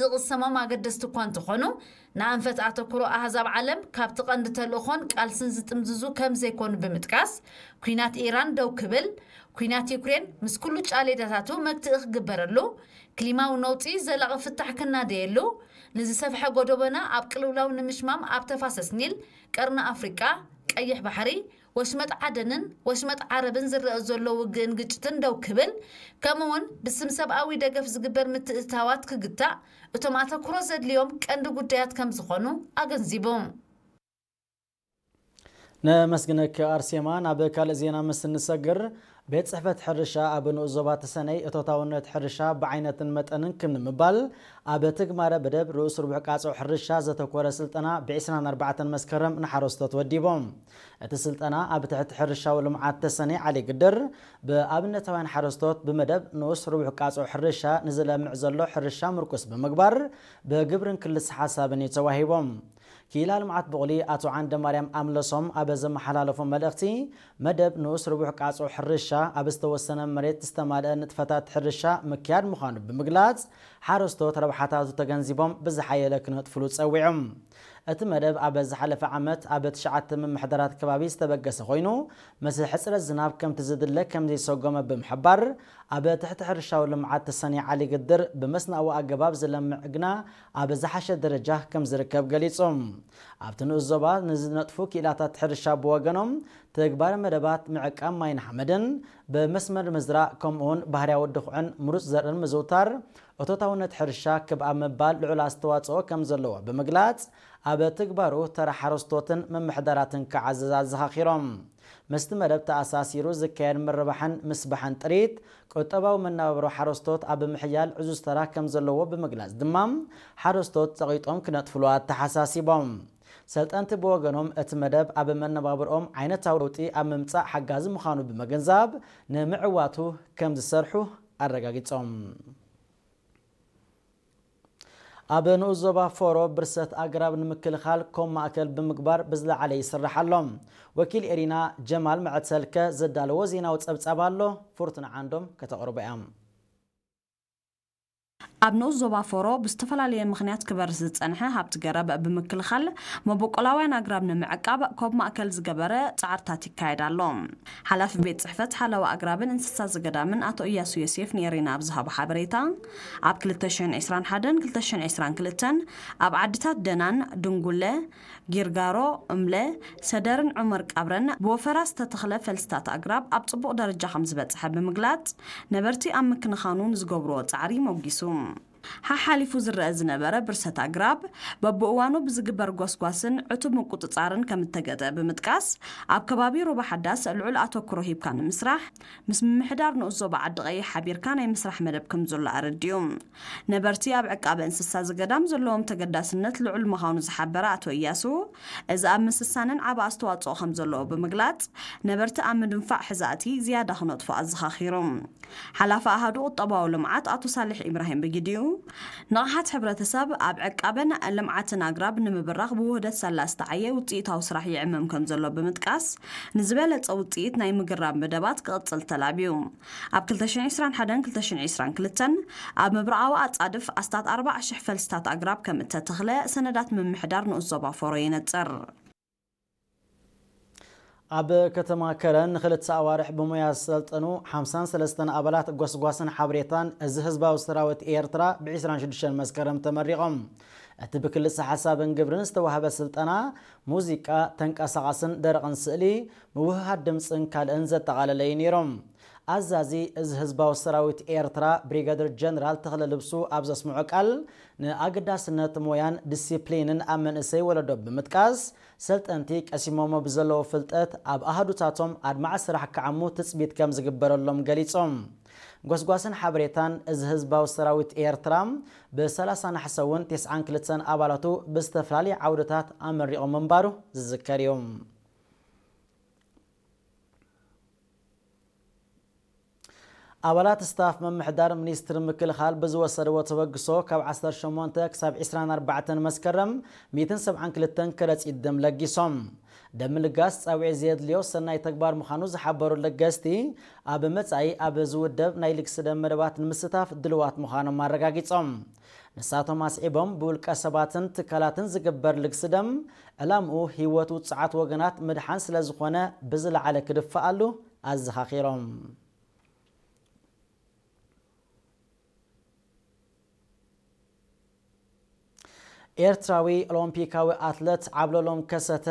ዝቕሰሞም ኣገደስቲ እኳ እንተኾኑ፣ ንኣንፈት ኣተኩሮ ኣህዛብ ዓለም ካብቲ ቀንዲ ተልእኾን ቃልስን ዝጥምዝዙ ከም ዘይኮኑ ብምጥቃስ፣ ኲናት ኢራን ደው ክብል፣ ኲናት ዩክሬን ምስ ኩሉ ጫሌዳታቱ መግትኢ ክግበረሉ፣ ክሊማዊ ነውጺ ዘላቒ ፍታሕ ክናደየሉ፣ ንዝሰፍሐ ጎደቦና ኣብ ቅልውላው ንምሽማም ኣብ ተፋሰስ ኒል፣ ቀርኒ ኣፍሪቃ፣ ቀይሕ ባሕሪ፣ ወሽመጥ ዓደንን ወሽመጥ ዓረብን ዝረአ ዘሎ ውግእን ግጭትን ደው ክብል፣ ከምኡውን ብስም ሰብኣዊ ደገፍ ዝግበር ምትእትታዋት ክግታእ እቶም ኣተኩሮ ዘድልዮም ቀንዲ ጉዳያት ከም ዝኾኑ ኣገንዚቡ። ነመስግነኪ ኣርሴማ። ናብ ካልእ ዜና ምስ እንሰግር፣ ቤት ጽሕፈት ሕርሻ ኣብ ንኡስ ዞባ ተሰነይ እቶታውነት ሕርሻ ብዓይነትን መጠንን ክም ንምባል ኣብ ትግባረ መደብ ርኡስ ርቡሕ ቃጽዕ ሕርሻ ዘተኮረ ስልጠና ብ ዒስራን ኣርባዕተን መስከረም ንሓረስቶት ወዲቦም። እቲ ስልጠና ኣብ ትሕቲ ሕርሻዊ ልምዓት ተሰነይ ዓሊ ግድር ብኣብነታውያን ሓረስቶት ብመደብ ንኡስ ርቡሕ ቃጽዕ ሕርሻ ንዝለምዕ ዘሎ ሕርሻ ምርኩስ ብምግባር ብግብርን ክልስ ሓሳብን እዩ ተዋሂቦም። ክኢላ ልምዓት ብቑሊ ኣቶ ዓንደ ማርያም ኣምለሶም ኣብ ዘመሓላለፎ መልእኽቲ፣ መደብ ንኡስ ርቡሕ ቃጽዕ ሕርሻ ኣብ ዝተወሰነ መሬት ዝተማልአ ንጥፈታት ሕርሻ ምክያድ ምዃኑ ብምግላጽ፣ ሓረስቶት ረብሓታቱ ተገንዚቦም ብዝሓየለ ክነጥፍሉ ጸዊዖም። እቲ መደብ ኣብ ዝሓለፈ ዓመት ኣብ ትሽዓተ ምምሕዳራት ከባቢ ዝተበገሰ ኮይኑ፣ ምስ ሕጽረት ዝናብ ከምቲ ዝድለ ከም ዘይሰጎመ ብምሕባር፣ ኣብ ትሕቲ ሕርሻዊ ልምዓት ተሰነይ ዓሊ ግድር ብመስናዊ ኣገባብ ዝለምዕ ግና ኣብ ዝሓሸ ደረጃ ከም ዝርከብ ገሊጹ። ኣብቲ ንኡስ ዞባ ንዝነጥፉ ክኢላታት ሕርሻ ብወገኖም፣ ተግባር መደባት ምዕቃብ ማይን ሓመድን፣ ብመስመር ምዝራእ፣ ከምኡውን ባህርያዊ ድኹዕን ምሩጽ ዘርእን ምዝውታር፣ እቶታውነት ሕርሻ ክብ ኣብ ምባል ልዑል ኣስተዋጽኦ ከም ዘለዎ ብምግላጽ፣ ኣብ ትግባሩ ተራ ሓረስቶትን ምምሕዳራትን ክዓዝዝ ኣዘኻኺሮም። ምስቲ መደብ ተኣሳሲሩ ዝካየድ ምርባሕን ምስባሕን ጥሪት፣ ቁጠባዊ መነባብሮ ሓረስቶት ኣብ ምሕያል ዕዙዝ ተራ ከም ዘለዎ ብምግላጽ ድማ፣ ሓረስቶት ጸቒጦም ክነጥፍሉ ኣተሓሳሲቦም። ሰልጠንቲ ብወገኖም፣ እቲ መደብ ኣብ መነባብርኦም ዓይነታዊ ለውጢ ኣብ ምምጻእ ሓጋዚ ምዃኑ ብምግንዛብ፣ ንምዕዋቱ ከም ዝሰርሑ ኣረጋጊጾም። ኣብ ንኡስ ዞባ ፎሮ ብርሰት ኣግራብ ንምክልኻል ኮም ማእከል ብምግባር ብዝለዓለ ይስራሕ ኣሎ። ወኪል ኤሪና ጀማል መዐት ሰልከ ዘዳለዎ ዜናዊ ጸብጻብ ኣሎ፣ ፍርቱና ዓንዶም ከተቕርቦ እያ። ኣብ ንኡስ ዞባ ፎሮ ብዝተፈላለየ ምኽንያት ክበርስ ዝጸንሐ ሃብቲ ገረብ ብምክልኻል፣ መበቆላውያን ኣግራብ ንምዕቃብ ኮብ ማእከል ዝገበረ ጻዕርታት ይካየድ ኣሎ። ሓላፊ ቤት ጽሕፈት ሓለዋ ኣግራብን እንስሳ ዘገዳምን ኣቶ እያሱ ዮሴፍ ንኤሪና ኣብ ዝሃቦ ሓበሬታ፣ ኣብ ክልተ ሽሕን ዕስራን ሓደን ክልተ ሽሕን ዕስራን ክልተን ኣብ ዓድታት ደናን፣ ድንጉለ፣ ጊርጋሮ፣ እምለ፣ ሰደርን ዑመር ቀብረን ብወፈራ ዝተተኽለ ፈልስታት ኣግራብ ኣብ ጽቡቕ ደረጃ ከም ዝበጽሐ ብምግላጽ፣ ነበርቲ ኣብ ምክንኻኑ ንዝገብርዎ ጻዕሪ ሞጊሱ። ሓሓሊፉ ዝረአ ዝነበረ ብርሰት ኣግራብ በብእዋኑ ብዝግበር ጎስጓስን ዕቱብ ምቁጽጻርን ከም እተገጠ ብምጥቃስ፣ ኣብ ከባቢ ሩባ ሓዳስ ልዑል ኣተኩሮ ሂብካ ንምስራሕ፣ ምስ ምምሕዳር ንኡስ ዞባ ዓዲ ቀይሕ ሓቢርካ ናይ ምስራሕ መደብ ከም ዘሎ ኣረዲኡ። ነበርቲ ኣብ ዕቃበ እንስሳ ዘገዳም ዘለዎም ተገዳስነት ልዑል ምዃኑ ዝሓበረ ኣቶ እያሱ፣ እዚ ኣብ ምስሳንን ዓቢ ኣስተዋጽኦ ከም ዘለዎ ብምግላጽ፣ ነበርቲ ኣብ ምድንፋዕ ሕዛእቲ ዝያዳ ክነጥፉ ኣዘኻኺሩ። ሓላፊ ኣሃዱ ቁጠባዊ ልምዓት ኣቶ ሳልሕ ኢብራሂም ብግዲኡ፣ ንቕሓት ሕብረተሰብ ኣብ ዕቃበን ልምዓትን ኣግራብ ንምብራኽ ብውህደት ሳላ ዝተዓየ ውጽኢታዊ ስራሕ ይዕመም ከም ዘሎ ብምጥቃስ፣ ንዝበለጸ ውጽኢት ናይ ምግራብ መደባት ክቕጽል ተላብዩ። ኣብ ክልተ ሽሕን ዕስራን ሓደን ክልተ ሽሕን ዕስራን ክልተን ኣብ ምብራቓዊ ኣጻድፍ ኣስታት ኣርባዓ ሽሕ ፈልስታት ኣግራብ ከም እተተኽለ ሰነዳት ምምሕዳር ንኡስ ዞባ ፎሮ የነጽር። ኣብ ከተማ ከረን ንኽልተ ኣዋርሕ ብሞያ ዝሰልጠኑ ሓምሳን ሰለስተን ኣባላት ጎስጓስን ሓበሬታን እዚ ህዝባዊ ሰራዊት ኤርትራ ብ ዕስራን ሽዱሽተን መስከረም ተመሪቖም። እቲ ብክልሰ ሓሳብን ግብርን ዝተዋህበ ስልጠና፣ ሙዚቃ፣ ተንቀሳቓስን ደረቕን ስእሊ፣ ምውህሃድ ድምጽን ካልእን ዘጠቓለለ እዩ ነይሮም። ኣዛዚ እዚ ህዝባዊ ሰራዊት ኤርትራ ብሪጋደር ጀነራል ተኽለ ልብሱ ኣብ ዘስምዖ ቃል፣ ንኣገዳስነት ሞያን ዲሲፕሊንን ኣብ መንእሰይ ወለዶ ብምጥቃስ፣ ሰልጠንቲ ቀሲሞሞ ብዘለዎ ፍልጠት ኣብ ኣሃዱታቶም ኣድማዒ ስራሕ ክዓሙ ትጽቢት ከም ዝግበረሎም ገሊጾም። ጎስጓስን ሓበሬታን እዚ ህዝባዊ ሰራዊት ኤርትራ ብሰላሳ ነሓሰ እውን ተስዓን ክልተን ኣባላቱ ብዝተፈላለየ ዓውድታት ኣመሪቑ ምንባሩ ዝዝከር እዩ። ኣባላት ስታፍ ምምሕዳር ሚኒስትሪ ምክልኻል ብዝወሰድዎ ተበግሶ ካብ ዓሰርተ ሸሞንተ ክሳብ ዕስራን ኣርባዕተን መስከረም ሚእትን ሰብዓን ክልተን ከረጺት ደም ለጊሶም። ደም ምልጋስ ጻውዒት ዘየድልዮ ሰናይ ተግባር ምዃኑ ዝሓበሩ ለገስቲ፣ ኣብ መጻኢ ኣብ ዝውደብ ናይ ልግሲ ደም መደባት ንምስታፍ ድልዋት ምዃኖም ኣረጋጊጾም። ንሳቶም ኣስዒቦም፣ ብውልቀ ሰባትን ትካላትን ዝግበር ልግሲ ደም ዕላምኡ ህይወት ውጹዓት ወገናት ምድሓን ስለ ዝኾነ፣ ብዝለዓለ ክድፈኣሉ ኣዘኻኺሮም። ኤርትራዊ ኦሎምፒካዊ ኣትለት ዓብለሎም ከሰተ